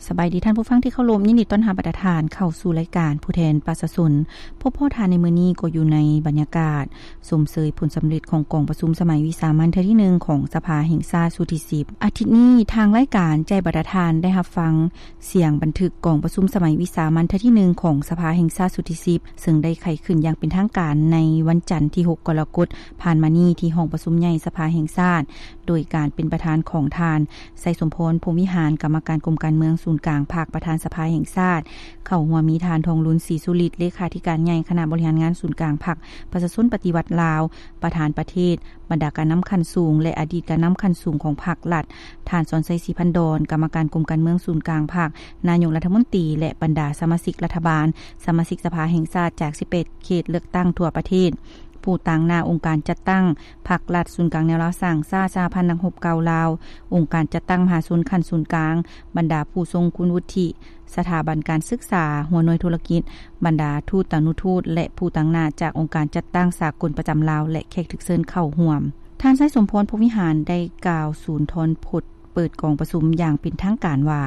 ສະບາຍດີທ່ານຜູ້ຟັງທີ່ເຄົາລົບ, ຍິນດີຕ້ອນຮັບບັນດາທ່ານເຂົ້າສູ່ລາຍການຜູ້ແທນປະຊາຊົນ. ພົບພໍ້ທ່ານໃນມື້ນີ້ກໍຢູ່ໃນບັນຍາກາດຊົມເຊີຍຜົນສຳເລັດຂອງກອງປະຊຸມສະໄໝວິສາມັນເທື່ອທີໜຶ່ງຂອງສະພາແຫ່ງຊາດຊຸດທີສິບ. ອາທິດນີ້ທາງລາຍການໃຈບັນດາທ່ານໄດ້ຮັບຟັງສຽງບັນທຶກກອງປະຊຸມສະໄໝວິສາມັນເທື່ອທີໜຶ່ງຂອງສະພາແຫ່ງຊາດຊຸດທີສິບ ເຊິ່ງໄດ້ໄຂຂຶ້ນຢ່າງເປັນທາງການໃນວັນຈັນທີຫົກ ກໍລະກົດຜ່ານມານີ້ ທີ່ຫ້ອງປະຊຸມໃຫຍ່ສະພາແຫ່ງຊາດ ໂດຍການເປັນປະທານຂອງທ່ານ ໄຊສົມພອນ ພົມວິຫານ ກຳມະການກົມການເມືອງສູນກາງພັກ ປະທານສະພາແຫ່ງຊາດ, ເຂົ້າຮ່ວມມີທ່ານ ທອງລຸນ ສີສຸລິດ ເລຂາທິການໃຫຍ່ຄະນະບໍລິຫານງານສູນກາງພັກປະຊາຊົນປະຕິວັດລາວ, ປະທານປະເທດ, ບັນດາການນຳຂັ້ນສູງ ແລະ ອະດີດການນຳຂັ້ນສູງຂອງພັກລັດ, ທ່ານ ສອນໄຊ ສີພັນດອນ ກຳມະການກົມການເມືອງສູນກາງພັກ, ນາຍົກລັດຖະມົນຕີ ແລະ ບັນດາສະມາຊິກລັດຖະບານ, ສະມາຊິກສະພາແຫ່ງຊາດຈາກສິບແປດເຂດເລືອກຕັ້ງທົ່ວປະເທດ, ຜູ້ຕາງໜ້າອົງການຈັດຕັ້ງພັກລັດ, ສູນກາງແນວລາວສ້າງຊາດ, ສະຫະພັນນັກຮົບເກົ່າລາວ, ອົງການຈັດຕັ້ງມະຫາຊົນຂັ້ນສູນກາງ, ບັນດາຜູ້ຊົງຄຸນວຸດທິ, ສະຖາບັນການສຶກສາ, ຫົວໜ່ວຍທຸລະກິດ, ບັນດາທູດຕານຸທູດ ແລະ ຜູ້ຕາງໜ້າຈາກອົງການຈັດຕັ້ງສາກົນປະຈຳລາວ ແລະ ແຂກຖືກເຊີນເຂົ້າຮ່ວມ. ທ່ານ ໄຊສົມພອນ ພົມວິຫານ ໄດ້ກ່າວສູນທອນພົດເປີດກອງປະຊຸມຢ່າງເປັນທາງການວ່າ: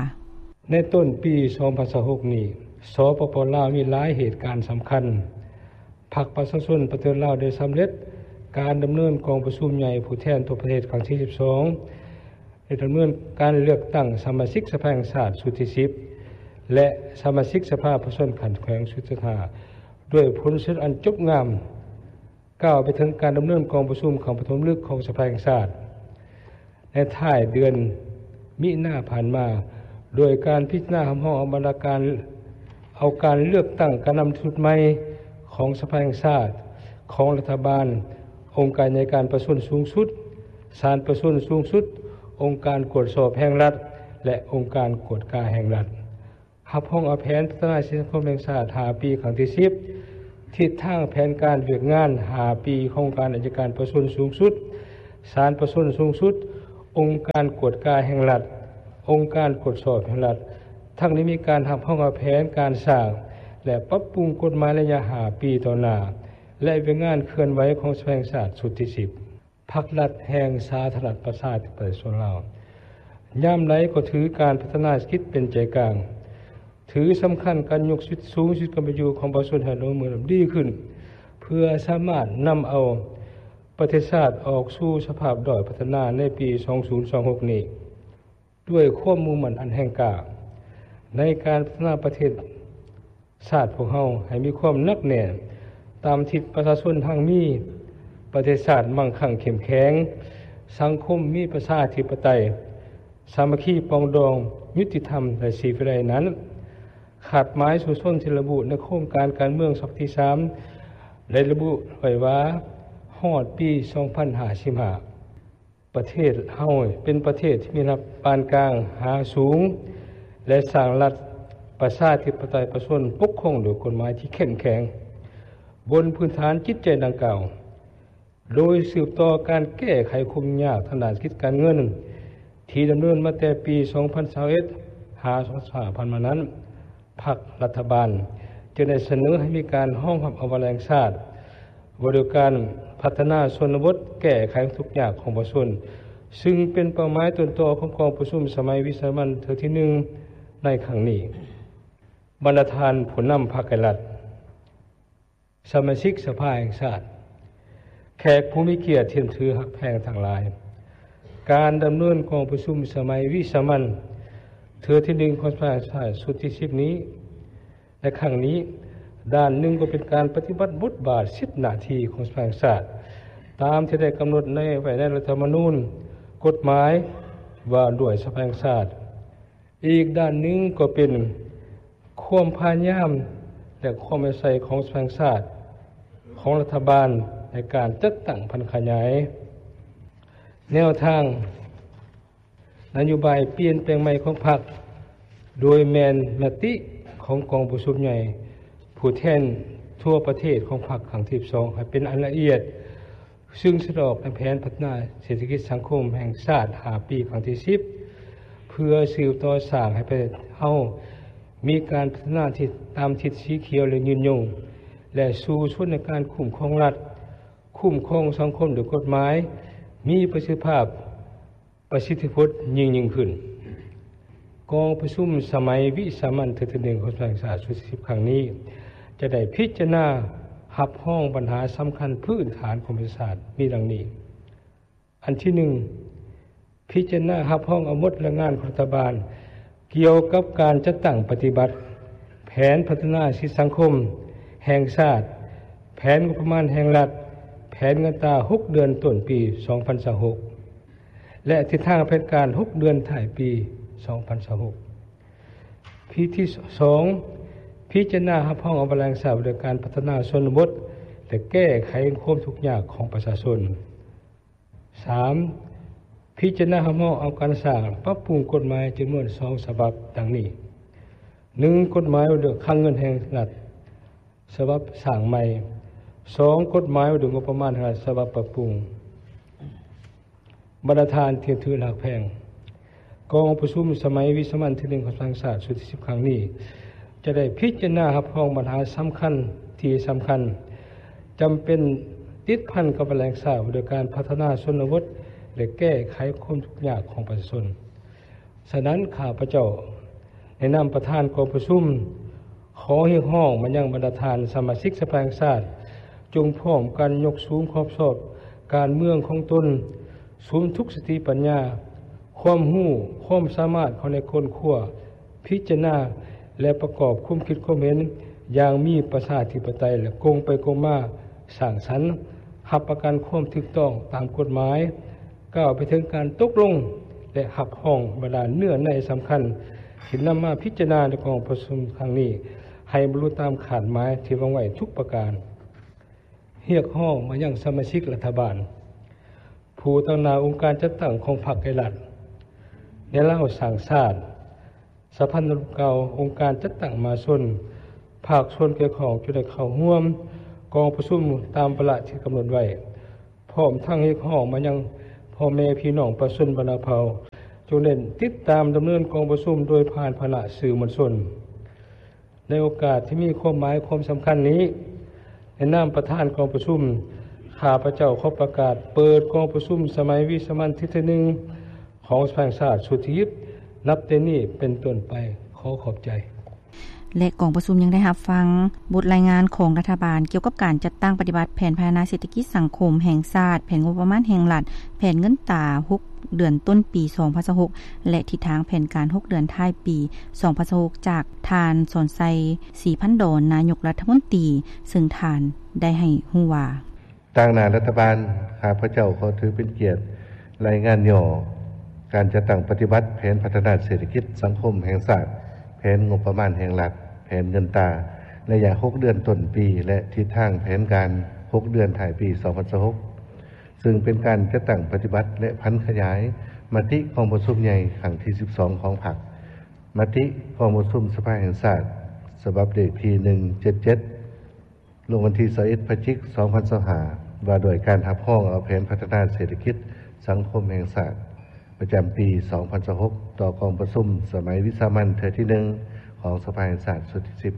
ໃນຕົ້ນປີສອງພັນຊາວຫົກນີ້ ສປປ ລາວ ມີຫຼາຍເຫດການສຳຄັນ. ພັກປະຊາຊົນປະຕິວັດລາວໄດ້ສຳເລັດການດຳເນີນກອງປະຊຸມໃຫຍ່ຜູ້ແທນທົ່ວປະເທດຄັ້ງທີສິບສອງ ໄດ້ດຳເນີນການເລືອກຕັ້ງສະມາຊິກສະພາແຫ່ງຊາດຊຸດທີສິບ ແລະ ສະມາຊິກສະພາປະຊາຊົນຂັ້ນແຂວງຊຸດທີຫ້າ ດ້ວຍຜົນສຳເລັດອັນຈົບງາມ. ກ່າວໄປເຖິງການດຳເນີນກອງປະຊຸມຄັ້ງປະຖົມລະລຶກຂອງສະພາແຫ່ງຊາດ ໃນທ້າຍເດືອນມິນາຜ່ານມາ, ໂດຍການພິຈາລະນາຮັບຮອງເອົາບັນດາການ ເອົາການເລືອກຕັ້ງການນຳຊຸດໃໝ່ຂອງສະພາແຫ່ງຊາດ, ຂອງລັດຖະບານ, ອົງການໃຫຍ່ການປະຊາຊົນສູງສຸດ, ສານປະຊາຊົນສູງສຸດ, ອົງການກວດສອບແຫ່ງລັດ ແລະ ອົງການກວດກາແຫ່ງລັດ. ຮັບຮອງເອົາແຜນພັດທະນາສັງຄົມແຫ່ງຊາດຫ້າປີຄັ້ງທີສິບ, ທິດທາງແຜນການວຽກງານຫ້າປີຂອງອົງການໄອຍະການປະຊາຊົນສູງສຸດ, ສານປະຊາຊົນສູງສຸດ, ອົງການກວດກາແຫ່ງລັດ, ອົງການກວດສອບແຫ່ງລັດ. ທັງນີ້ມີການຮັບຮອງເອົາແຜນການສ້າງ ແລະ ປັບປຸງກົດໝາຍໄລຍະຫ້າປີຕໍ່ໜ້າ ແລະ ວຽກງານເຄື່ອນໄຫວຂອງສະພາແຫ່ງຊາດຊຸດທີສິບ. ພັກລັດແຫ່ງສາທາລະນະລັດປະຊາທິປະໄຕປະຊາຊົນລາວ ຍາມໃດກໍຖືການພັດທະນາເສດຖະກິດເປັນໃຈກາງ, ຖືສຳຄັນການຍົກສິດສູງສຸດການເປັນຢູ່ຂອງປະຊາຊົນໃຫ້ດຳເນີນດີຂຶ້ນ ເພື່ອສາມາດນຳເອົາປະເທດຊາດອອກສູ່ສະພາບດ້ອຍພັດທະນາໃນປີສອງພັນຊາວຫົກນີ້. ດ້ວຍຄວາມມຸ່ງໝັ້ນອັນແຮງກ້າໃນການພັດທະນາປະເທດຊາດພວກເຮົາໃຫ້ມີຄວາມໜັກແໜ້ນຕາມທິດປະຊາຊົນຮັ່ງມີ, ປະເທດຊາດມັ່ງຄັ່ງເຂັ້ມແຂງ, ສັງຄົມມີປະຊາທິປະໄຕ, ສາມັກຄີປອງດອງ, ຍຸຕິທຳ ແລະ ສີວິໄລນັ້ນ, ຄາດໝາຍສູ້ຊົນທີ່ລະບຸໃນໂຄງການການເມືອງສະບັບທີສາມ ໄດ້ລະບຸໄວ້ວ່າ ຮອດປີສອງພັນຫ້າສິບຫ້າ ປະເທດເຮົາເປັນປະເທດທີ່ມີລາຍຮັບປານກາງຫາສູງ ແລະ ສ້າງລັດປະຊາທິປະໄຕປະຊາຊົນປົກຄອງໂດຍກົດໝາຍທີ່ເຂັ້ມແຂງ. ບົນພື້ນຖານຈິດໃຈດັ່ງກ່າວ, ໂດຍສືບຕໍ່ການແກ້ໄຂຄວາມຫຍຸ້ງຍາກທາງດ້ານເສດຖະກິດການເງິນ ທີ່ດຳເນີນມາແຕ່ປີສອງພັນຊາວເອັດ ຫາສອງພັນຊາວຫ້າ ຜ່ານມານັ້ນ, ພັກລັດຖະບານຈຶ່ງໄດ້ສະເໜີໃຫ້ມີການຮອງຮັບເອົາວາລະແຫ່ງຊາດ ວ່າດ້ວຍການພັດທະນາຊົນນະບົດ ແກ້ໄຂທຸກຍາກຂອງປະຊາຊົນ, ຊຶ່ງເປັນເປົ້າໝາຍຕົ້ນຕໍຂອງກອງປະຊຸມສະໄໝວິສາມັນເທື່ອທີໜຶ່ງໃນຄັ້ງນີ້. ບັນດາທ່ານຜູ້ນຳພັກ ແລະ ລັດ, ສະມາຊິກສະພາແຫ່ງຊາດ, ແຂກຜູ້ມີກຽດທີ່ນັບຖືຮັກແພງທັງຫຼາຍ, ການດຳເນີນກອງປະຊຸມສະໄໝວິສາມັນເທື່ອທີໜຶ່ງຂອງສະພາແຫ່ງຊາດຊຸດທີສິບນີ້ ໃນຄັ້ງນີ້, ດ້ານໜຶ່ງກໍເປັນການປະຕິບັດບົດບາດສິດໜ້າທີ່ຂອງສະພາແຫ່ງຊາດ ຕາມທີ່ໄດ້ກຳນົດໃນ ໄວ້ໃນລັດຖະທຳມະນູນ, ກົດໝາຍວ່າດ້ວຍສະພາແຫ່ງຊາດ. ອີກດ້ານໜຶ່ງກໍເປັນຄວາມພະຍາຍາມ ແລະ ຄວາມເອົາໃຈຂອງສະພາແຫ່ງຊາດ, ຂອງລັດຖະບານໃນການຈັດຕັ້ງຜັນຂະຫຍາຍແນວທາງ ນະໂຍບາຍປ່ຽນແປງໃໝ່ຂອງພັກ, ໂດຍແມ່ນມະຕິຂອງກອງປະຊຸມໃຫຍ່ຜູ້ແທນທົ່ວປະເທດຂອງພັກຄັ້ງທີສິບສອງ ໃຫ້ເປັນອັນລະອຽດ, ຊຶ່ງສະແດງອອກໃນແຜນພັດທະນາເສດຖະກິດສັງຄົມແຫ່ງຊາດຫ້າປີຄັ້ງທີສິບ ເພື່ອສືບຕໍ່ສ້າງໃຫ້ປະເທດເຮົາມີການພັດທະນາທີ່ຕາມທິດສີຂຽວ ແລະ ຍືນຍົງ ແລະ ສູ້ຊົນໃນການຄຸ້ມຄອງລັດ, ຄຸ້ມຄອງສັງຄົມດ້ວຍກົດໝາຍ, ມີປະສິດທິພາບ, ປະສິດທິຜົນຍິ່ງໆຂຶ້ນ. ກອງປະຊຸມສະໄໝວິສາມັນເທື່ອທີໜຶ່ງຂອງສະພາແຫ່ງຊາດຊຸດທີສິບຄັ້ງນີ້ ຈະໄດ້ພິຈາລະນາຮັບຮອງບັນຫາສຳຄັນພື້ນຖານຂອງປະເທດຊາດມີດັ່ງນີ້. ອັນທີໜຶ່ງ, ພິຈາລະນາຮັບຮອງເອົາບົດລາຍງານຂອງລັດຖະບານກ່ຽວກັບການຈັດຕັ້ງປະຕິບັດແຜນພັດທະນາເສດຖະກິດສັງຄົມແຫ່ງຊາດ, ແຜນງົບປະມານແຫ່ງລັດ, ແຜນເງິນຕາຫົກເດືອນຕົ້ນປີສອງພັນຊາວຫົກ ແລະ ທິດທາງແຜນການຫົກເດືອນທ້າຍປີສອງພັນຊາວຫົກ. ທີສອງ, ພິຈາລະນາຮັບຮອງເອົາແຜນພັດທະນາສ່ວນນະບົດ ແລະ ແກ້ໄຂຄວາມທຸກຍາກຂອງປະຊາຊົນ. ສາມ, ພິຈາລະນາຮັບຮອງເອົາການສ້າງປັບປຸງກົດໝາຍຈຳນວນສອງສະບັບ ດັ່ງນີ້: ໜຶ່ງ, ກົດໝາຍວ່າດ້ວຍຄັງເງິນແຫ່ງລັດ ສະບັບສ້າງໃໝ່, ສອງ, ກົດໝາຍວ່າດ້ວຍງົບປະມານແຫ່ງລັດ ສະບັບປັບປຸງ. ບັນດາທ່ານທີ່ຖືກຮັກແພງ, ກອງປະຊຸມສະໄໝວິສາມັນທີໜຶ່ງຂອງສະພາແຫ່ງຊາດຊຸດທີສິບຄັ້ງນີ້ ຈະໄດ້ພິຈາລະນາຮັບຮອງບັນຫາສຳຄັນທີ່ສຳຄັນ ຈຳເປັນຕິດພັນກັບແຫຼ່ງຊາດ ໂດຍການພັດທະນາຊົນນະບົດ ແລະ ແກ້ໄຂຄວາມທຸກຍາກຂອງປະຊາຊົນ. ສະນັ້ນ ຂ້າພະເຈົ້າໃນນາມປະທານກອງປະຊຸມ ຂໍຮຽກຮ້ອງມາຍັງບັນດາທ່ານສະມາຊິກສະພາແຫ່ງຊາດ ຈົ່ງພ້ອມກັນຍົກສູງຄວາມຊອບການເມືອງຂອງຕົນ, ສຸມທຸກສະຕິປັນຍາ, ຄວາມຮູ້, ຄວາມສາມາດເຂົ້າໃນຄົ້ນຄວ້າ, ພິຈາລະນາ ແລະ ປະກອບຄວາມຄິດຄວາມເຫັນຢ່າງມີປະຊາທິປະໄຕ ແລະ ກົງໄປກົງມາ, ສ້າງສັນ, ຮັບປະກັນຄວາມຖືກຕ້ອງຕາມກົດໝາຍ, ກ້າວໄປເຖິງການຕົກລົງ ແລະ ຮັບຮອງບັນດາເນື້ອໃນສຳຄັນ ທີ່ນຳມາພິຈາລະນາໃນກອງປະຊຸມຄັ້ງນີ້ ໃຫ້ບັນລຸຕາມຄາດໝາຍທີ່ວາງໄວ້ທຸກປະການ. ຮຽກຮ້ອງມາຍັງສະມາຊິກລັດຖະບານ, ຜູ້ຕາງໜ້າອົງການຈັດຕັ້ງຂອງພັກ ແລະ ລັດ, ແນວລາວສ້າງຊາດ, ສະພັນລາວເກົ່າ, ອົງການຈັດຕັ້ງມະຫາຊົນ, ພາກສ່ວນກ່ຽວຂ້ອງ ຈະໄດ້ເຂົ້າຮ່ວມກອງປະຊຸມຕາມວາລະທີ່ກຳນົດໄວ້, ພ້ອມທັງຮຽກຮ້ອງມາຍັງພໍ່ແມ່ພີ່ນ້ອງປະຊາຊົນບັນດາເຜົ່າ ຈົ່ງເລັ່ງຕິດຕາມດຳເນີນກອງປະຊຸມໂດຍຜ່ານພານະສື່ມວນຊົນ. ໃນໂອກາດທີ່ມີຄວາມໝາຍຄວາມສຳຄັນນີ້, ໃນນາມປະທານກອງປະຊຸມ, ຂ້າພະເຈົ້າຂໍປະກາດເປີດກອງປະຊຸມສະໄໝວິສາມັນທີໜຶ່ງຂອງສະພາແຫ່ງຊາດຊຸດທີສິບ ນັບແຕ່ນີ້ເປັນຕົ້ນໄປ. ຂໍຂອບໃຈ. ແລະ ກອງປະຊຸມຍັງໄດ້ຮັບຟັງບົດລາຍງານຂອງລັດຖະບານກ່ຽວກັບການຈັດຕັ້ງປະຕິບັດແຜນພັດທະນາເສດຖະກິດສັງຄົມແຫ່ງຊາດ, ແຜນງົບປະມານແຫ່ງລັດ, ແຜນເງິນຕາຫົກເດືອນຕົ້ນປີສອງພັນຊາວຫົກ ແລະ ທິດທາງແຜນການຫົກເດືອນທ້າຍປີສອງພັນຊາວຫົກ ຈາກທ່ານ ສອນໄຊ ສີພັນດອນ ນາຍົກລັດຖະມົນຕີ, ເຊິ່ງທ່ານໄດ້ໃຫ້ຮູ້ວ່າ. ຕາງໜ້າລັດຖະບານ, ຂ້າພະເຈົ້າຂໍຖືເປັນກຽດລາຍງານຫຍໍ້ການຈັດຕັ້ງປະຕິບັດແຜນພັດທະນາເສດຖະກິດສັງຄົມແຫ່ງຊາດ, ແຜນງົບປະມານແຫ່ງລັດ, ແຜນເງິນຕາ ໄລຍະຫົກເດືອນຕົ້ນປີ ແລະ ທິດທາງແຜນການຫົກເດືອນທ້າຍປີສອງພັນຊາວຫົກ ເຊິ່ງເປັນການຈັດຕັ້ງປະຕິບັດ ແລະ ຜັນຂະຫຍາຍມະຕິກອງປະຊຸມໃຫຍ່ຄັ້ງທີສິບສອງຂອງພັກ, ມະຕິກອງປະຊຸມສະພາແຫ່ງຊາດ ສະບັບເລກທີໜຶ່ງເຈັດເຈັດ ລົງວັນທີຊາວເອັດ ພະຈິກ ສອງພັນຊາວຫ້າ ວ່າດ້ວຍການຮັບຮອງເອົາແຜນພັດທະນາເສດຖະກິດສັງຄົມແຫ່ງຊາດ ປະຈຳປີສອງພັນຊາວຫົກ ຕໍ່ກອງປະຊຸມສະໄໝວິສາມັນເທື່ອທີໜຶ່ງຂອງສະພາແຫ່ງຊາດຊຸດທີສິບ.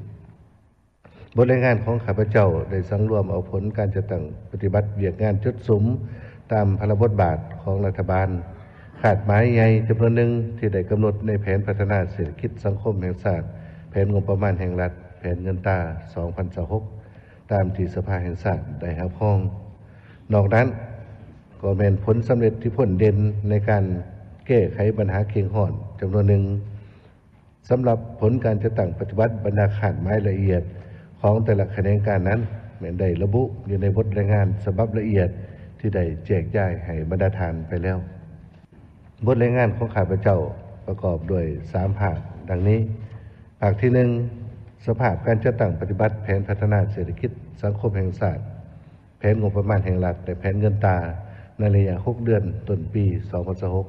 ບົດລາຍງານຂອງຂ້າພະເຈົ້າໄດ້ສັງລວມເອົາຜົນການຈັດຕັ້ງປະຕິບັດວຽກງານຈຸດສຸມຕາມພາລະບົດບາດຂອງລັດຖະບານ, ຄາດໝາຍໃຫຍ່ຈຳນວນໜຶ່ງທີ່ໄດ້ກຳນົດໃນແຜນພັດທະນາເສດຖະກິດສັງຄົມແຫ່ງຊາດ, ແຜນງົບປະມານແຫ່ງລັດ, ແຜນເງິນຕາສອງພັນຊາວຫົກ ຕາມທີ່ສະພາແຫ່ງຊາດໄດ້ຮັບຮອງ. ນອກນັ້ນກໍແມ່ນຜົນສຳເລັດທີ່ພົ້ນເດັ່ນໃນການແກ້ໄຂບັນຫາເຄັ່ງຮ້ອນຈຳນວນໜຶ່ງ. ສຳລັບຜົນການຈັດຕັ້ງປະຕິບັດບັນດາຄາດໝາຍລະອຽດຂອງແຕ່ລະຂະແໜງການນັ້ນ ແມ່ນໄດ້ລະບຸຢູ່ໃນບົດລາຍງານສະບັບລະອຽດທີ່ໄດ້ແຈກຈ່າຍໃຫ້ບັນດາທ່ານໄປແລ້ວ. ບົດລາຍງານຂອງຂ້າພະເຈົ້າປະກອບດ້ວຍສາມພາກ ດັ່ງນີ້. ພາກທີໜຶ່ງ, ສະພາບການຈັດຕັ້ງປະຕິບັດແຜນພັດທະນາເສດຖະກິດສັງຄົມແຫ່ງຊາດ, ແຜນງົບປະມານແຫ່ງລັດ ແລະ ແຜນເງິນຕາໃນໄລຍະຫົກເດືອນຕົ້ນປີສອງພັນຊາວຫົກ.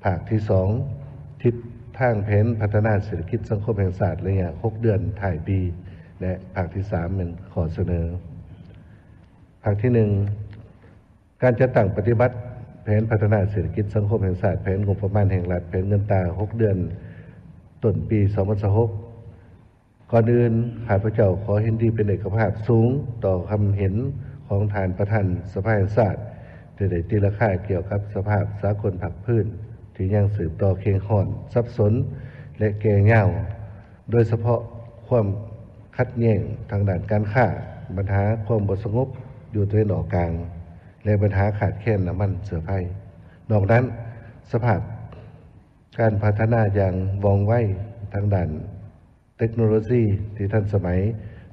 ພາກທີສອງ, ທິດທາງແຜນພັດທະນາເສດຖະກິດສັງຄົມແຫ່ງຊາດໄລຍະຫົກເດືອນທ້າຍປີ ແລະ ພາກທີສາມ ແມ່ນຂໍ້ສະເໜີ. ພາກທີໜຶ່ງ, ການຈັດຕັ້ງປະຕິບັດແຜນພັດທະນາເສດຖະກິດສັງຄົມແຫ່ງຊາດ, ແຜນງົບປະມານແຫ່ງລັດ, ແຜນເງິນຕາຫົກເດືອນຕົ້ນປີສອງພັນຊາວຫົກ. ກ່ອນອື່ນ, ຂ້າພະເຈົ້າຂໍເຫັນດີເປັນເອກະພາບສູງຕໍ່ຄຳເຫັນຂອງທ່ານປະທານສະພາແຫ່ງຊາດ ທີ່ໄດ້ຕີລາຄາກ່ຽວກັບສະພາບສາກົນພາກພື້ນທີ່ຍັງສືບຕໍ່ເຄັ່ງຮ້ອນ, ສັບສົນ ລະແກ່ຍາວ, ໂດຍສະເພາະຄວາມຂັດແຍ່ງທາງດ້ານການຄ້າ, ບັນຫາຄວາມບໍ່ສະຫງົບຢູ່ຕາເວັນອອກກາງ ແລະ ບັນຫາຂາດແຄນນ້ຳມັນເຊື້ອໄຟ. ນອກນັ້ນ, ສະພາບການພັດທະນາຢ່າງວ່ອງໄວທາງດ້ານເຕັກໂນໂລຊີທີ່ທັນສະໄໝ,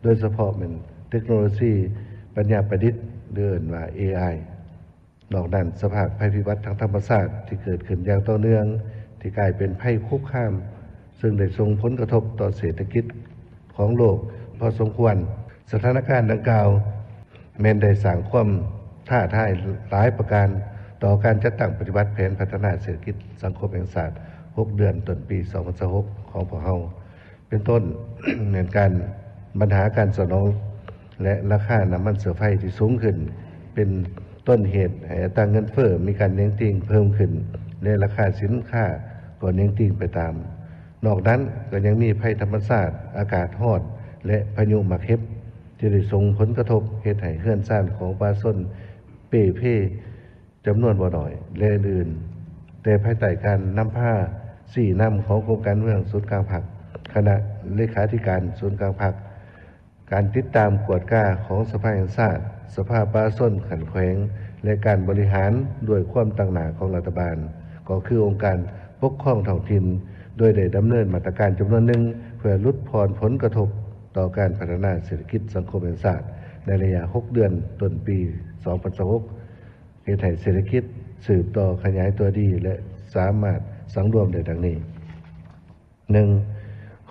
ໂດຍສະເພາະແມ່ນເຕັກໂນໂລຊີປັນຍາປະດິດ ຫຼື ເອີ້ນວ່າ ເອໄອ. ນອກນັ້ນ, ສະພາບໄພພິບັດທາງທຳມະຊາດທີ່ເກີດຂຶ້ນຢ່າງຕໍ່ເນື່ອງ, ທີ່ກາຍເປັນໄພຄຸກຄາມ, ເຊິ່ງໄດ້ສົ່ງຜົນກະທົບຕໍ່ເສດຖະກິດຂອງໂລກພໍສົມຄວນ. ສະຖານະການດັ່ງກ່າວ ແມ່ນໄດ້ສ້າງຄວາມທ້າທາຍຫຼາຍປະການຕໍ່ການຈັດຕັ້ງປະຕິບັດແຜນພັດທະນາເສດຖະກິດສັງຄົມແຫ່ງຊາດ ຫົກເດືອນຕົ້ນປີ ສອງພັນຊາວຫົກ ຂອງພວກເຮົາ. ເປັນຕົ້ນ ແມ່ນການ ບັນຫາການສະໜອງ ແລະ ລາຄານ້ຳມັນເຊື້ອໄຟທີ່ສູງຂຶ້ນ ເປັນຕົ້ນເຫດໃຫ້ອັດຕາເງິນເຟີ້ມີການເໜັງຕີງເພີ່ມຂຶ້ນ ແລະ ລາຄາສິນຄ້າກໍເໜັງຕີງໄປຕາມ. ນອກນັ້ນກໍຍັງມີໄພທຳມະຊາດ, ອາກາດຮ້ອນ ແລະ ພາຍຸໝາກເຫັບ ທີ່ໄດ້ສົ່ງຜົນກະທົບເຮັດໃຫ້ເຮືອນຊານຂອງປະຊາຊົນເປ່ເພ ຈຳນວນບໍ່ໜ້ອຍ ແລະ ອື່ນໆ, ແຕ່ພາຍໃຕ້ການນຳພາຊີ້ນຳຂອງກົມການເມືອງສູນກາງພັກ, ຄະນະເລຂາທິການສູນກາງພັກ, ການຕິດຕາມກວດກາຂອງສະພາແຫ່ງຊາດ, ສະພາປະຊາຊົນຂັ້ນແຂວງ ແລະ ການບໍລິຫານດ້ວຍຄວາມຕັ້ງໜ້າຂອງລັດຖະບານ, ກໍຄືອົງການປົກຄອງທ້ອງຖິ່ນ, ໂດຍໄດ້ດຳເນີນມາດຕະການຈຳນວນໜຶ່ງ ເພື່ອຫຼຸດຜ່ອນຜົນກະທົບຕໍ່ການພັດທະນາເສດຖະກິດສັງຄົມແຫ່ງຊາດ ໃນໄລຍະຫົກເດືອນຕົ້ນປີ ສອງພັນຊາວຫົກ ເຮັດໃຫ້ເສດຖະກິດສືບຕໍ່ຂະຫຍາຍຕົວດີ ແລະ ສາມາດສັງລວມໄດ້ດັ່ງນີ້: ໜຶ່ງ,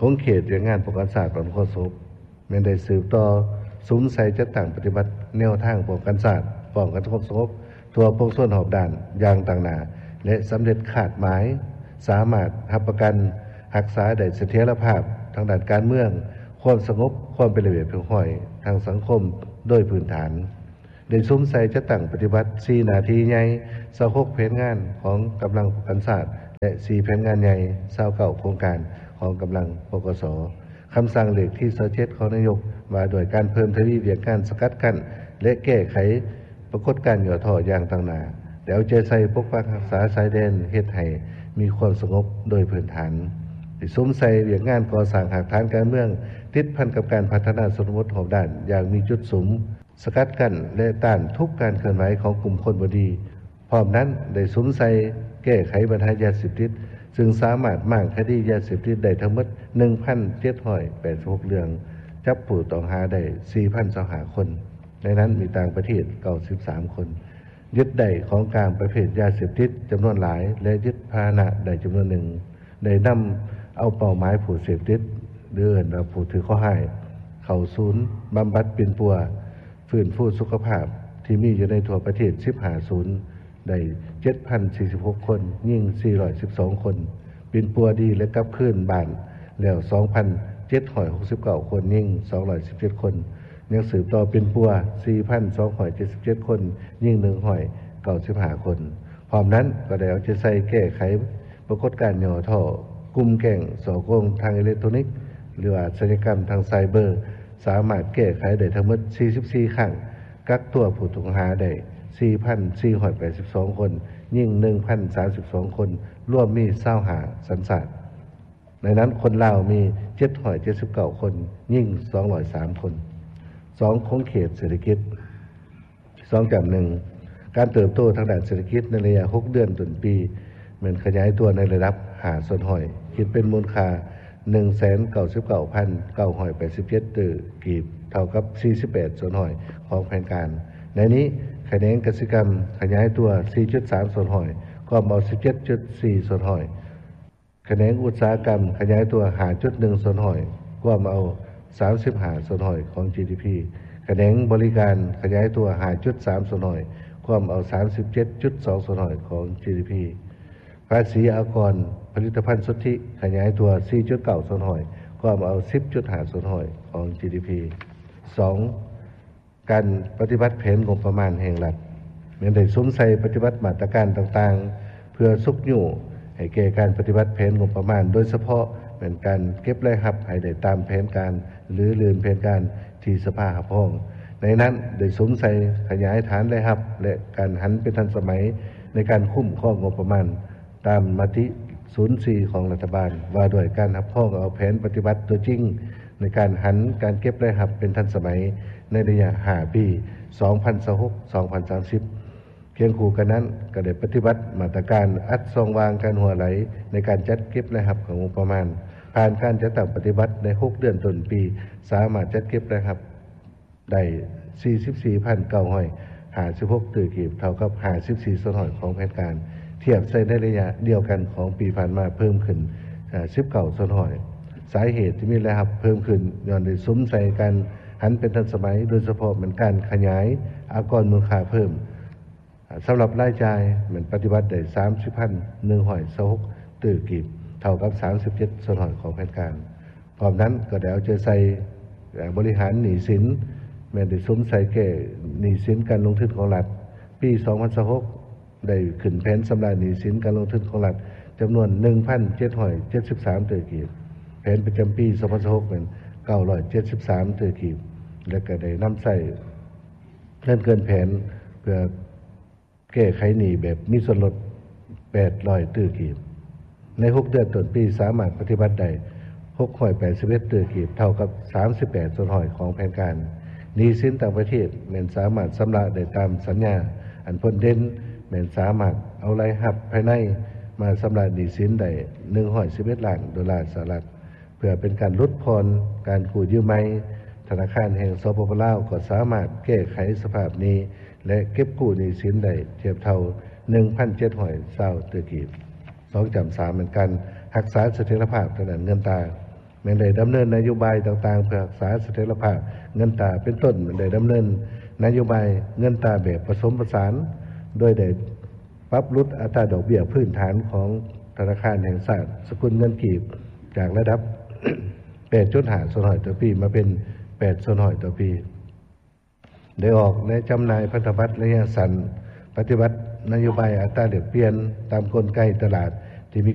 ຂົງເຂດວຽກງານປ້ອງກັນຊາດ ປ້ອງກັນຄວາມສະຫງົບ ແມ່ນໄດ້ສືບຕໍ່ສຸມໃສ່ຈັດຕັ້ງປະຕິບັດແນວທາງປ້ອງກັນຊາດ, ປ້ອງກັນຄວາມສະຫງົບທົ່ວປວງຊົນຮອບດ້ານຢ່າງຕັ້ງໜ້າ ແລະ ສຳເລັດຄາດໝາຍ, ສາມາດຮັບປະກັນຮັກສາໄດ້ສະຖຽນລະພາບທາງດ້ານການເມືອງ, ຄວາມສະຫງົບ, ຄວາມເປັນລະບຽບຮຽບຮ້ອຍທາງສັງຄົມໂດຍພື້ນຖານ. ໄດ້ສຸມໃສ່ຈັດຕັ້ງປະຕິບັດສີ່ໜ້າທີ່ໃຫຍ່, ຊາວຫົກແຜນງານຂອງກຳລັງປ້ອງກັນຊາດ ແລະ ສີ່ແຜນງານໃຫຍ່, ຊາວເກົ້າໂຄງການຂອງກຳລັງ ປກສ. ຄຳສັ່ງເລກທີຊາວເຈັດຂອງນາຍົກ ວ່າດ້ວຍການເພີ່ມທະວີວຽກງານສະກັດກັ້ນ ແລະ ແກ້ໄຂປາກົດການຫຍໍ້ທໍ້ຢ່າງຕັ້ງໜ້າ, ໄດ້ເອົາໃຈໃສ່ປົກປັກຮັກສາຊາຍແດນ ເຮັດໃຫ້ມີຄວາມສະຫງົບໂດຍພື້ນຖານ, ໄດ້ສຸມໃສ່ວຽກງານກໍ່ສ້າງຮາກຖານການເມືອງ ຕິດພັນກັບການພັດທະນາຊົນນະບົດຮອບດ້ານຢ່າງມີຈຸດສຸມ, ສະກັດກັ້ນ ແລະ ຕ້ານທຸກການເຄື່ອນໄຫວຂອງກຸ່ມຄົນບໍ່ດີ. ພ້ອມນັ້ນ ໄດ້ສຸມໃສ່ແກ້ໄຂບັນຫາຢາເສບຕິດ, ເຊິ່ງສາມາດມ້າງຄະດີຢາເສບຕິດໄດ້ທັງໝົດ ໜຶ່ງພັນເຈັດຮ້ອຍແປດສິບຫົກເລື່ອງ, ຈັບຜູ້ຕ້ອງຫາໄດ້ ສີ່ພັນຊາວຫ້າຄົນ, ໃນນັ້ນມີຕ່າງປະເທດ ເກົ້າສິບສາມຄົນ, ຍຶດໄດ້ຂອງກາງປະເພດຢາເສບຕິດຈຳນວນຫຼາຍ ແລະ ຍຶດພາຫະນະໄດ້ຈຳນວນໜຶ່ງ. ໄດ້ນຳເອົາເປົ້າໝາຍຜູ້ເສບຕິດ ຫຼື ເອີ້ນວ່າຜູ້ຖືກເຄາະຮ້າຍ ເຂົ້າສູນບຳບັດປິ່ນປົວຟື້ນຟູສຸຂະພາບ ທີ່ມີຢູ່ໃນທົ່ວປະເທດ ສິບຫ້າສູນ, ໄດ້ ເຈັດພັນສີ່ສິບຫົກຄົນ, ຍິງ ສີ່ຮ້ອຍສິບສອງຄົນ, ປິ່ນປົວດີ ແລະ ກັບຄືນບ້ານແລ້ວ ສອງພັນເຈັດຮ້ອຍຫົກສິບເກົ້າຄົນ, ຍິງ ສອງຮ້ອຍສິບເຈັດຄົນ, ຍັງສືບຕໍ່ປິ່ນປົວ ສີ່ພັນສອງຮ້ອຍເຈັດສິບເຈັດຄົນ, ຍິງ ໜຶ່ງຮ້ອຍເກົ້າສິບຫ້າຄົນ. ພ້ອມນັ້ນກໍໄດ້ເອົາໃຈໃສ່ແກ້ໄຂປາກົດການຫຍໍ້ທໍ້, ກຸ່ມແກ້ງສໍ້ໂກງທາງເອເລັກໂທຣນິກ ຫຼືວ່າອາຊະຍາກຳທາງໄຊເບີ ສາມາດແກ້ໄຂໄດ້ທັງໝົດ ສີ່ສິບສີ່ຄັ້ງ, ກັກຕົວຜູ້ຕ້ອງຫາໄດ້ ສີ່ພັນສີ່ຮ້ອຍແປດສິບສອງຄົນ, ຍິງ ໜຶ່ງພັນສາມສິບສອງຄົນ, ລວມມີ ຊາວຫ້າສັນຊາດ. ໃນນັ້ນຄົນລາວມີ ເຈັດຮ້ອຍເຈັດສິບເກົ້າຄົນ, ຍິງ ສອງຮ້ອຍສາມຄົນ. ສອງ, ຂົງເຂດເສດຖະກິດ. ສອງຈ້ຳໜຶ່ງ, ການເຕີບໂຕທາງດ້ານເສດຖະກິດໃນໄລຍະຫົກເດືອນຕົ້ນປີ ແມ່ນຂະຫຍາຍຕົວໃນລະດັບຫ້າສ່ວນຮ້ອຍ, ຄິດເປັນມູນຄ່າ ໜຶ່ງແສນເກົ້າສິບເກົ້າພັນເກົ້າຮ້ອຍແປດສິບເຈັດຕື້ກີບ, ເທົ່າກັບສີ່ສິບແປດສ່ວນຮ້ອຍຂອງແຜນການ. ໃນນີ້, ຂະແໜງກະສິກຳຂະຫຍາຍຕົວ ສີ່ຈຸດສາມສ່ວນຮ້ອຍ, ກວມເອົາ ສິບເຈັດຈຸດສີ່ສ່ວນຮ້ອຍ. ຂະແໜງອຸດສາຫະກຳຂະຫຍາຍຕົວ ຫ້າຈຸດໜຶ່ງສ່ວນຮ້ອຍ, ກວມເອົາ ສາມສິບຫ້າສ່ວນຮ້ອຍຂອງ ຈີດີພີ. ຂະແໜງບໍລິການຂະຫຍາຍຕົວ ຫ້າຈຸດສາມສ່ວນຮ້ອຍ, ກວມເອົາ ສາມສິບເຈັດຈຸດສອງສ່ວນຮ້ອຍຂອງ ຈີດີພີ. ພາສີອາກອນຜະລິດຕະພັນສຸດທິຂະຫຍາຍຕົວ ສີ່ຈຸດເກົ້າສ່ວນຮ້ອຍ, ກວມເອົາ ສິບຈຸດຫ້າສ່ວນຮ້ອຍຂອງ ຈີດີພີ. ສອງ, ການປະຕິບັດແຜນງົບປະມານແຫ່ງລັດ ແມ່ນໄດ້ສຸມໃສ່ປະຕິບັດມາດຕະການຕ່າງໆ ເພື່ອຊຸກຍູ້ໃຫ້ແກ່ການປະຕິບັດແຜນງົບປະມານ, ໂດຍສະເພາະແມ່ນການເກັບລາຍຮັບໃຫ້ໄດ້ຕາມແຜນການ ຫຼື ລື່ນແຜນການທີ່ສະພາຮັບຮອງ. ໃນນັ້ນໄດ້ສຸມໃສ່ຂະຫຍາຍຖານລາຍຮັບ ແລະ ການຫັນເປັນທັນສະໄໝໃນການຄຸ້ມຄອງງົບປະມານ ຕາມມະຕິ ສູນສີ່ຂອງລັດຖະບານ ວ່າດ້ວຍການຮັບຮອງເອົາແຜນປະຕິບັດຕົວຈິງ ໃນການຫັນການເກັບລາຍຮັບເປັນທັນສະໄໝ ໃນໄລຍະຫ້າປີ ສອງພັນຊາວຫົກ ສອງພັນສາມສິບ. ຄຽງຄູ່ກັນນັ້ນ ກໍໄດ້ປະຕິບັດມາດຕະການອັດຊ່ອງວ່າງການຮົ່ວໄຫຼ ໃນການຈັດເກັບລາຍຮັບຂອງງົບປະມານ. ຜ່ານການຈັດຕັ້ງປະຕິບັດໃນຫົກເດືອນຕົ້ນປີ ສາມາດຈັດເກັບລາຍຮັບ ໄດ້ສີ່ສິບສີ່ພັນເກົ້າຮ້ອຍຫ້າສິບຫົກຕື້ກີບ ເທົ່າກັບຫ້າສິບສີ່ສ່ວນຮ້ອຍຂອງແຜນການ, ທຽບໃສ່ໃນໄລຍະດຽວກັນຂອງປີຜ່ານມາເພີ່ມຂຶ້ນ ເອີ່ ສິບເກົ້າສ່ວນຮ້ອຍ. ສາເຫດທີ່ມີລາຍຮັບເພີ່ມຂຶ້ນ ຍ້ອນໄດ້ສຸມໃສ່ການຫັນເປັນທັນສະໄໝ, ໂດຍສະເພາະແມ່ນການຂະຫຍາຍອາກອນມູນຄ່າເພີ່ມ. ສຳລັບລາຍຈ່າຍແມ່ນປະຕິບັດໄດ້ສາມສິບພັນໜຶ່ງຮ້ອຍຊາວຫົກຕື້ກີບ ເທົ່າກັບສາມສິບເຈັດສ່ວນຮ້ອຍຂອງແຜນການ. ພ້ອມນັ້ນກໍໄດ້ເອົາໃຈໃສ່ ເອີ່ ບໍລິຫານໜີ້ສິນ ແມ່ນໄດ້ສຸມໃສ່ແກ້ໜີ້ສິນການລົງທຶນຂອງລັດ. ປີສອງພັນຊາວຫົກ ໄດ້ຂຶ້ນແຜນຊຳລະໜີ້ສິນການລົງທຶນຂອງລັດ ຈຳນວນໜຶ່ງພັນເຈັດຮ້ອຍເຈັດສິບສາມຕື້ກີບ. ແຜນປະຈຳປີສອງພັນຊາວຫົກ ແມ່ນເກົ້າຮ້ອຍເຈັດສິບສາມຕື້ກີບ ແລະ ກໍໄດ້ນຳໃຊ້ເງິນເກີນແຜນ ເພື່ອ ແກ້ໄຂໜີ້ແບບມີສ່ວນລົດ ແປດຮ້ອຍຕື້ກີບ. ໃນຫົກເດືອນຕົ້ນປີ ສາມາດປະຕິບັດໄດ້ຫົກຮ້ອຍແປດສິບເອັດຕື້ກີບ ເທົ່າກັບສາມສິບແປດສ່ວນຮ້ອຍຂອງແຜນການ. ໜີ້ສິນຕ່າງປະເທດແມ່ນສາມາດຊຳລະໄດ້ຕາມສັນຍາ. ອັນພົ້ນເດັ່ນແມ່ນສາມາດເອົາລາຍຮັບພາຍໃນມາຊຳລະໜີ້ສິນໄດ້ໜຶ່ງຮ້ອຍສິບເອັດລ້ານໂດລາສະຫະລັດ. ເພື່ອເປັນການຫຼຸດຜ່ອນການກູ້ຢືມໃໝ່, ທະນາຄານແຫ່ງ ສປປ ລາວ ກໍສາມາດແກ້ໄຂສະພາບໜີ້ ແລະ ເກັບກູ້ໜີ້ສິນໄດ້ທຽບເທົ່າໜຶ່ງພັນເຈັດຮ້ອຍຊາວຕື້ກີບ. ສອງຈ້ຳສາມ ແມ່ນການຮັກສາສະຖຽນລະພາບທາງດ້ານເງິນຕາ. ແມ່ນໄດ້ດຳເນີນນະໂຍບາຍຕ່າງໆ ເພື່ອຮັກສາສະຖຽນລະພາບເງິນຕາ, ເປັນຕົ້ນ ແມ່ນໄດ້ດຳເນີນນະໂຍບາຍເງິນຕາແບບປະສົມປະສານ, ໂດຍໄດ້ ປັບຫຼຸດອັດຕາດອກເບ້ຍພື້ນຖານຂອງທະນາຄານແຫ່ງຊາດສະກຸນເງິນກີບ ຈາກລະດັບ ແປດຈຸດຫ້າສ່ວນຮ້ອຍຕໍ່ປີ ມາເປັນ ແປດສ່ວນຮ້ອຍຕໍ່ປີ. ໄດ້ອອກ ແລະ ຈຳໜ່າຍພັນທະບັດໄລຍະສັ້ນ, ປະຕິບັດນະໂຍບາຍອັດຕາແລກປ່ຽນຕາມກົນໄກຕະຫຼາດ